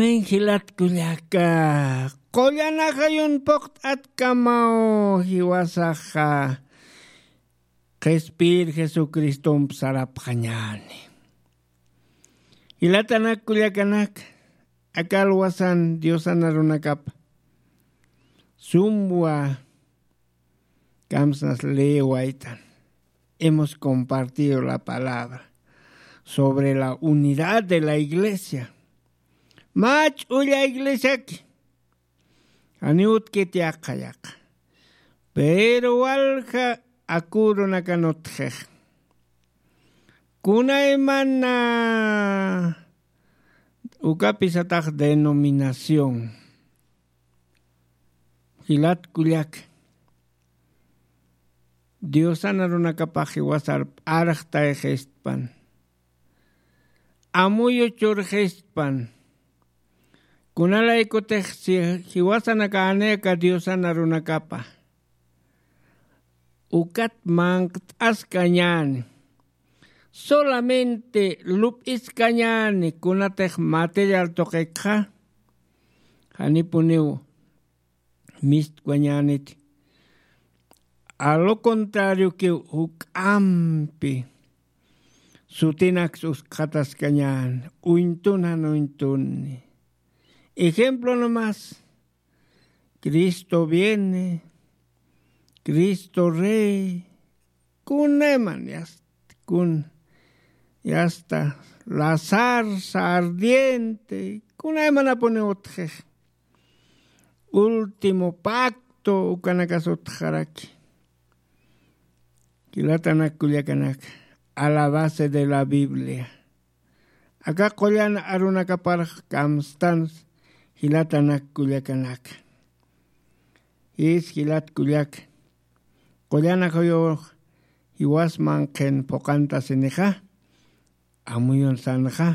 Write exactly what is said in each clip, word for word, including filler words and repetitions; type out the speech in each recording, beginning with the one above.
Jilat kullaka, qullan ajayun puqt'atkamaw jiwasaxa qhispiyir Jesucristomp sarapxañäni. Jilatanak kullakanak, aka alwasan Diosan arunakap sumwa kamsnas leewaytan. Hemos compartido la palabra sobre la unidad de la iglesia. Mä ch'ulla iglesiaki, janiw utjkiti yaqha yaqha. Pero walja akürunakan utjix. Kunaymana ukapï satax denominación. Jilat kullaka, Diosan arunakapax jiwasar p'arxtayxistpan, amuyu churxistpan. Kunalaykutix si jiwasanakänï aka Diosan arunakapa, ukat manq't'askañäni, solamente lup'iskañäni kunatix material tuqikxa, janipuniw mistwañäniti. A lo contrariokiw, juk'ampi sutinaks uskxataskañäni, uñtun jan uñtunni. Ejemplo nomás, Cristo viene, Cristo rey, kunayman, ya está, kun, ya está, la zarza ardiente, kunaymanapuni utjix. Último pacto, ukanakas utjaraki. Jilatanak kullakanak, a la base de la Biblia. Aka qullan arunakapar kamstans, jilatanak kullakanak. Jis jilat kullak, qullan ajayux jiwasman qhin phuqhantasinixa, amuyunsanxa,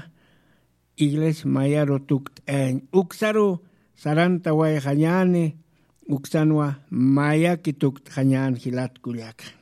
iglesia mayaru tukt'ayañ, uksaru sarantawayxañäni, uksanwa mayaki tukt'xañän jilat kullaka.